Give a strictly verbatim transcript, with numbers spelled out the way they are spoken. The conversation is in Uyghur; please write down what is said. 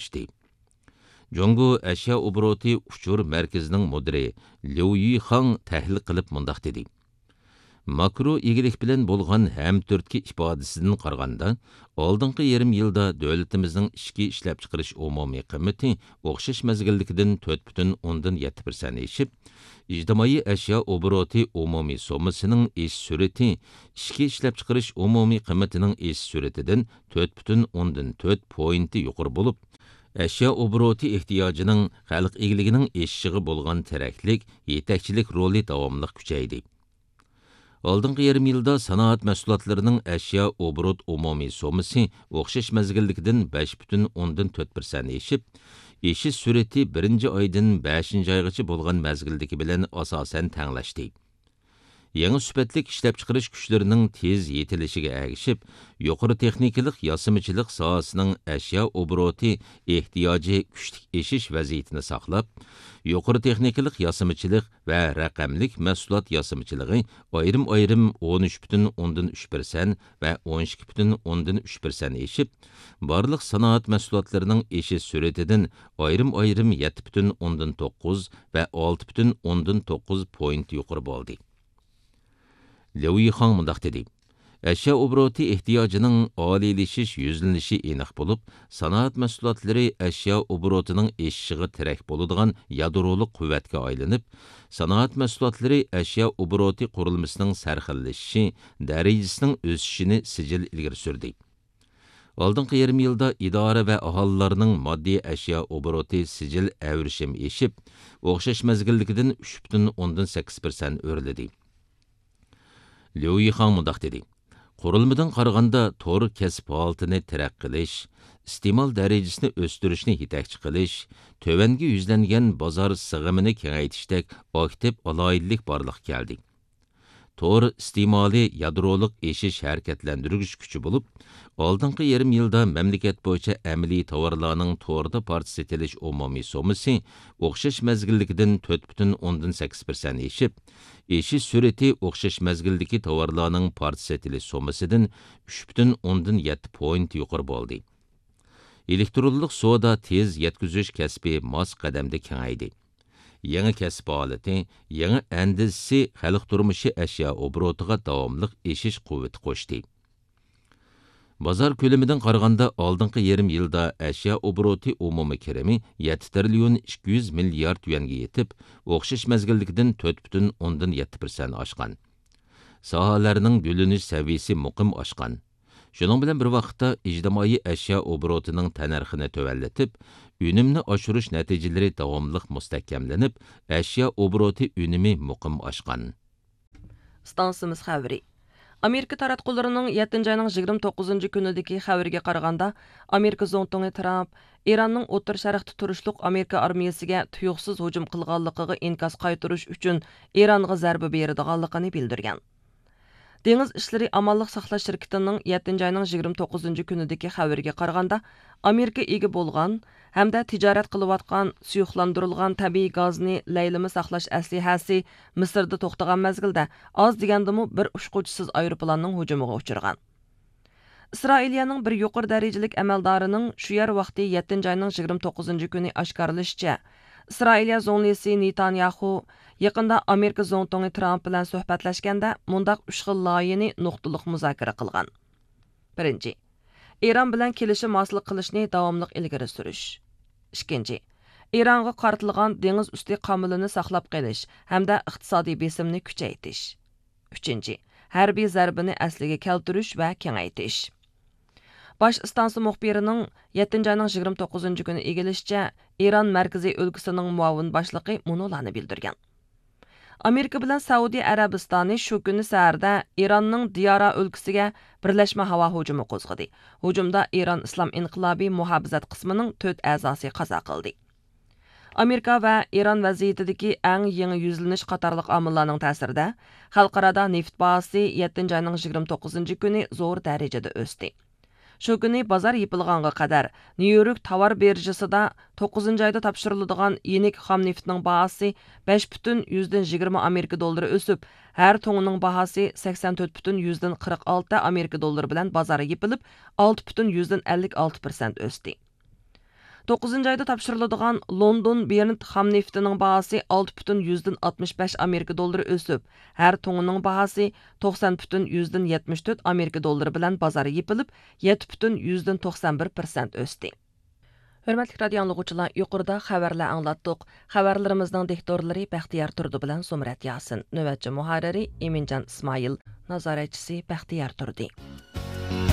ئاخىرلاشتى. جۇڭگو ئەشيا ئوبوروتى ئۇچۇر مەركىزىنىڭ مۇدىرى ليۇ يىخاڭ تەھلىل قىلىپ مۇنداق دېدى: ماكرو ئىگىلىك بىلەن بولغان ھەمتۈرتكە ئىپادىسىدىن قارىغاندا، ئالدىنقى يېرىم يىلدا دۆلىتىمىزنىڭ ئىچكى ئىشلەپچىقىرىش ئومۇمىي قىممىتى ئوخشاش مەزگىلدىكىدىن تۆت پۈتۈن ئوندىن يەتتە پىرسەنت ئېشىپ، ئىجتىمائىي ئەشيا ئوبوروتى ئومۇمىي سوممىسىنىڭ ئېشىش سۈرئىتى ئىچكى ئىشلەپچىقىرىش ئومۇمىي قىممىتىنىڭ ئېشىش سۈرئىتىدىن تۆت پۈتۈن ئوندىن تۆت پوينتى يۇقىرى بولۇپ، ئەشيا ئوبوروتى ئېھتىياجىنىڭ خەلق ئىگىلىكىنىڭ ئېشىشىغا بولغان تىرەكلىك، يېتەكچىلىك رولى داۋاملىق كۈچەيدى. ئالدىنقى يېرىم يىلدا سانائەت مەھسۇلاتلىرىنىڭ ئەشيا ئوبوروت ئومۇمىي سوممىسى ئوخشاش مەزگىلدىكىدىن بەش پۈتۈن ئوندىن تۆت پىرسەنت ئېشىپ، ئېشىش سۈرئىتى بىرىنچى ئايدىن بەشىنچى ئايغىچە بولغان مەزگىلدىكى بىلەن ئاساسەن تەڭلەشتى. يېڭى سۈپەتلىك ئىشلەپچىقىرىش كۈچلىرىنىڭ تېز يېتىلىشىگە ئەگىشىپ، يۇقىرى تېخنىكىلىق ياسىمىچىلىق ساھەسىنىڭ ئەشيا ئوبوروتى ئېھتىياجى كۈچلۈك ئېشىش ۋەزىيىتىنى ساقلاپ، يۇقىرى تېخنىكىلىق ياسىمىچىلىق ۋە رەقەملىك مەھسۇلات ياسىمىچىلىقى ئايرىم-ئايرىم ئون ئۈچ پۈتۈن ئوندىن ئۈچ پىرسەنت ۋە ئون ئىككى پۈتۈن ئوندىن ئۈچ پىرسەنت ئېشىپ، بارلىق سانائەت مەھسۇلاتلىرىنىڭ ئېشىش سۈرئىتىدىن ئايرىم-ئايرىم يەتتە پۈتۈن ئوندىن توققۇز ۋە ئالتە پۈتۈن ئوندىن توققۇز پوينت يۇقىرى بولدى. ليۇ يىخاڭ مۇنداق دېدى: ئەشيا ئوبوروتى ئېھتىياجىنىڭ ئالىيلىشىش يۈزلىنىشى ئېنىق بولۇپ، سانائەت مەھسۇلاتلىرى ئەشيا ئوبوروتىنىڭ ئېشىشىغا تىرەك بولىدىغان يادرولۇق قۇۋۋەتكە ئايلىنىپ، سانائەت مەھسۇلاتلىرى ئەشيا ئوبوروتى قۇرۇلمىسىنىڭ سەرخىللىشىشى، دەرىجىسىنىڭ ئۆسۈشىنى سىجىل ئىلگىرى سۈردى. ئالدىنقى يېرىم يىلدا ئىدارە ۋە ئاھالىلەرنىڭ ماددىي ئەشيا ئوبوروتى سىجىل ئەۋرىشىم ئېشىپ، ئوخشاش مەزگىلدىكىدىن ئۈچ پۈتۈن ئوندىن سەككىز پىرسەنت ئۆرلىدى. ليۇ يىخاڭ مۇنداق دېدى: قۇرۇلمىدىن قارىغاندا، تور كەسىپ ھالىتىنى تەرەققىي قىلىش، ئىستېمال دەرىجىسىنى ئۆستۈرۈشنى يېتەكچى قىلىش، تۆۋەنگە يۈزلەنگەن بازار سىغىمىنى كېڭەيتىشتەك ئاكتىپ ئالاھىدىلىك بارلىققا كەلدى. تور ئىستېمالى يادرولۇق ئېشىش ھەرىكەتلەندۈرگۈچ كۈچى بولۇپ، ئالدىنقى يېرىم يىلدا مەملىكەت بويىچە ئەمەلىي تاۋارلارنىڭ توردا پارچە سېتىلىش ئومۇمىي سوممىسى ئوخشاش مەزگىلدىكىدىن تۆت پۈتۈن ئوندىن سەككىز پىرسەنت ئېشىپ، ئېشىش سۈرئىتى ئوخشاش مەزگىلدىكى تاۋارلارنىڭ پارچە سېتىلىش سوممىسىدىن ئۈچ پۈتۈن ئوندىن يەتتە پوينت يۇقىرى بولدى. ئېلېكترونلۇق سودا تېز يەتكۈزۈش كەسپى ماس قەدەمدە كېڭەيدى. يېڭى كەسىپ ھالىتى، يېڭى ئەندىزىسى خەلق تۇرمۇشى ئەشيا ئوبوروتىغا داۋاملىق ئېشىش قۇۋۋىتى قوشتى. بازار كۆلىمىدىن قارىغاندا، ئالدىنقى يېرىم يىلدا ئەشيا ئوبوروتى ئومۇمىي كىرىمى يەتتە تىرىليون ئىككى يۈز مىليارد يۈەنگە يېتىپ، ئوخشاش مەزگىلدىكىدىن تۆت پۈتۈن ئوندىن يەتتە پىرسەنت ئاشقان. ساھەلەرنىڭ گۈللىنىش سەۋىيىسى مۇقىم ئاشقان. شۇنىڭ بىلەن بىر ۋاقىتتا، ئىجتىمائىي ئەشيا ئوبوروتىنىڭ تەننەرخىنى تۆۋەنلىتىپ، ئۈنۈمنى ئاشۇرۇش نەتىجىلىرى داۋاملىق مۇستەھكەملىنىپ، ئەشيا ئوبوروتى ئۈنۈمى مۇقىم ئاشقان. ئىستانسىمىز خەۋىرى. ئامېرىكا تاراتقۇلىرىنىڭ يەتتىنچى ئاينىڭ يىگىرمە توققۇزىنچى كۈنىدىكى خەۋىرىگە قارىغاندا، ئامېرىكا زۇڭتۇڭى ترامپ ئىراننىڭ ئوتتۇرا شەرقتە تۇرۇشلۇق ئامېرىكا ئارمىيىسىگە تۇيۇقسىز ھۇجۇم قىلغانلىقىغا ئىنكاس قايتۇرۇش ئۈچۈن ئىرانغا زەربە بېرىدىغانلىقىنى بىلدۈرگەن. دېڭىز ئىشلىرى ئامانلىق ساقلاش شىركىتىنىڭ يەتتىنچى ئاينىڭ يىگىرمە توققۇزىنچى كۈنىدىكى خەۋىرىگە قارىغاندا، ئامېرىكا ئىگە بولغان ھەمدە تىجارەت قىلىۋاتقان سۇيۇقلاندۇرۇلغان تەبىئىي گازنى لەيلىمە ساقلاش ئەسلىھەسى مىسىردا توختىغان مەزگىلدە ئاز دېگەندىمۇ بىر ئۇچقۇچىسىز ئايروپىلاننىڭ ھۇجۇمىغا ئۇچرىغان. ئىسرائىلىيەنىڭ بىر يۇقىرى دەرىجىلىك ئەمەلدارىنىڭ شۇ يەر ۋاقتى يەتتىنچى ئاينىڭ يىگىرمە توققۇزىنچى كۈنى ئاشكارىلىشىچە، ئىسرائىلىيە زۇڭلىسى نېتانياخۇ يېقىندا ئامېرىكا زۇڭتۇڭى ترامپ بىلەن سۆھبەتلەشكەندە مۇنداق ئۈچ خىل لايىھىنى نۇقتىلىق مۇزاكىرە قىلغان. بىرىنچى، ئىران بىلەن كېلىشىم ھاسىل قىلىشنى داۋاملىق ئىلگىرى سۈرۈش. ئىككىنچى، ئىرانغا قارىتىلغان دېڭىز ئۈستى قامىلىنى ساقلاپ قېلىش ھەمدە ئىقتىسادىي بېسىمنى كۈچەيتىش. ئۈچىنچى، ھەربىي زەربىنى ئەسلىگە كەلتۈرۈش ۋە كېڭەيتىش. باش ئىستانسا مۇخبىرىنىڭ يەتتىنچى ئاينىڭ يىگىرمە توققۇزىنچى كۈنى ئىگىلىشىچە، ئىران مەركىزىي ئۆلكىسىنىڭ مۇئاۋىن باشلىقى مۇنۇلارنى بىلدۈرگەن. ئامېرىكا بىلەن سەئۇدى ئەرەبىستانى شۇ كۈنى سەھەردە ئىراننىڭ دىيارا ئۆلكىسىگە بىرلەشمە ھاۋا ھۇجۇمى قوزغىدى. ھۇجۇمدا ئىران ئىسلام ئىنقىلابى مۇھاپىزەت قىسمىنىڭ تۆت ئەزاسى قازا قىلدى. ئامېرىكا ۋە ئىران ۋەزىيىتىدىكى ئەڭ يېڭى يۈزلىنىش قاتارلىق ئامىللارنىڭ تەسىرىدە، خەلقئارادا نېفىت باھاسى يەتتىنچى ئاينىڭ يىگىرمە توققۇزىنچى كۈنى زور دەرىجىدە ئۆستى. شۇ كۈنى بازار يېپىلغانغا قەدەر، نيۇ يورك تاۋار بىرژىسىدا توققۇزىنچى ئايدا تاپشۇرۇلىدىغان يېنىك خام نېفىتنىڭ باھاسى بەش پۈتۈن يۈزدىن يىگىرمە ئامېرىكا دوللىرى ئۆسۈپ، ھەر توننىنىڭ باھاسى سەكسەن تۆت پۈتۈن يۈزدىن قىرىق ئالتە ئامېرىكا دوللىرى بىلەن بازار يېپىلىپ، ئالتە پۈتۈن يۈزدىن ئەللىك ئالتە پىرسەنت ئۆستى. توققۇزىنچى ئايدا تاپشۇرۇلىدىغان لوندون برېنت خام نېفىتىنىڭ باھاسى ئالتە پۈتۈن يۈزدىن ئاتمىش بەش ئامېرىكا دوللىرى ئۆسۈپ، ھەر تۇڭىنىڭ باھاسى توقسان پۈتۈن يۈزدىن يەتمىش تۆت ئامېرىكا دوللىرى بىلەن بازار يېپىلىپ، يەتتە پۈتۈن يۈزدىن توقسان بىر پىرسەنت ئۆستى. ھۆرمەتلىك رادىئو ئاڭلىغۇچىلار، يۇقىرىدا خەۋەرلەر ئاڭلاتتۇق. خەۋەرلىرىمىزنىڭ دىكتورلىرى بەختىيار تۇردى بىلەن زۇمرەت ياسىن، نۆۋەتچى مۇھەررىرى ئىمىنجان ئىسمائىل، نازارەتچىسى بەختىيار تۇردى.